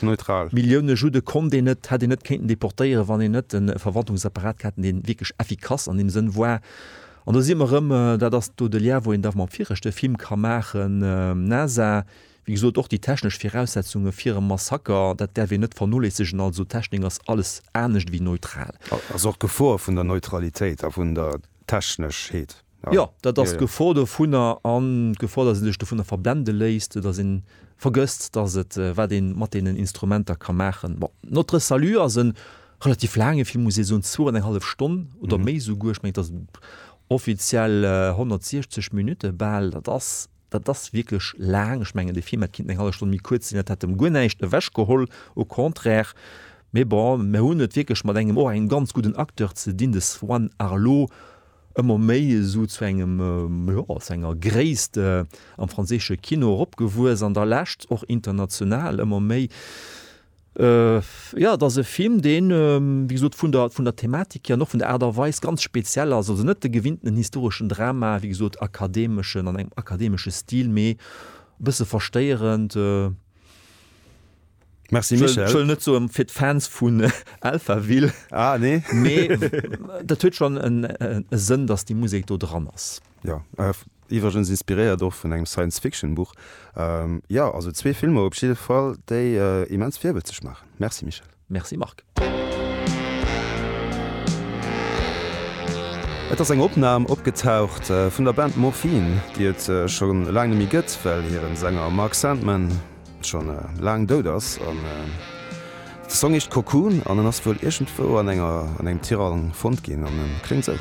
Neutral. Millioune Judde konnt een net, hätt een net kéinten deportéieren, wann een net e Verwaltungsapparat gehat hätt, dee wierklech effikass an deem Sënn war. An do si mer erëm, dat ass do de Lien, wou een da mam viregte Film ka maachen, NASA, wéi gesot, och déi technesch Viraussetzunge fir e Massaker, dat däerf een net vernoléissegen. Also d'Technik ass alles anescht ewéi neutral. Ass och d'Gefor vun der Neutralitéit a vun der Techneschheet. Jo, dat ass d'Gefor dovunner an d'Gefor, datt ee sech dovunner verblende léisst, datt ee vergësst, datt et, wat ee mat deenen Instrumenter ka maachen. Bon, Notre Salut ass e relativ laange Film, muss ee soen, zwou an eng hallef Stonn oder méi esouguer. Ech mengen, et ass offiziell 160 Minutte bal. Dat ass, dat ass wierklech laang. Ech mengen, de Film hätt kinnten eng hallef Stonn méi kuerz sinn, dat hätt em guer näischt ewechgeholl, au contraire. Mee bon, mir hunn et wierklech mat engem, och engem ganz gudden Acteur ze dinn, de Swann Arlaud, ëmmer méi esou zu engem, jo, zu enger Gréisst am franséische Kino eropgewuess, an der Lescht och international ëmmer méi. Jo, et ass e Film, deen, wéi gesot, vun der, vun der Thematik hier an och vun der Aart a Weis ganz speziell ass. Also net de gewinntenen historeschen Drama, wéi gesot, akademeschen, an engem akademesche Stil, mee e bësse verstéierend. Merci Michel. Ech wëll net soen fir d'Fans vun Alphaville. Ah nee. Mee dat huet schonn e Sënn, datt déi Musek do dran ass. Jo, iwwregens inspiréiert och vun engem Science-Fiction-Buch. Jo, also zwee Filmer op jidde Fall, déi immens virwëtzeg maachen. Merci Michel. Merci Marc. Et ass eng Opnam opgetaucht vun der Band Morphine, déi et scho laang net méi gëtt, well hiren Sänger Mark Sandman schonn laang dout ass. An de Song heescht Cocoon an en ass wuel iergendwou an enger an engem Tirang fonnt ginn an en kléngt sou.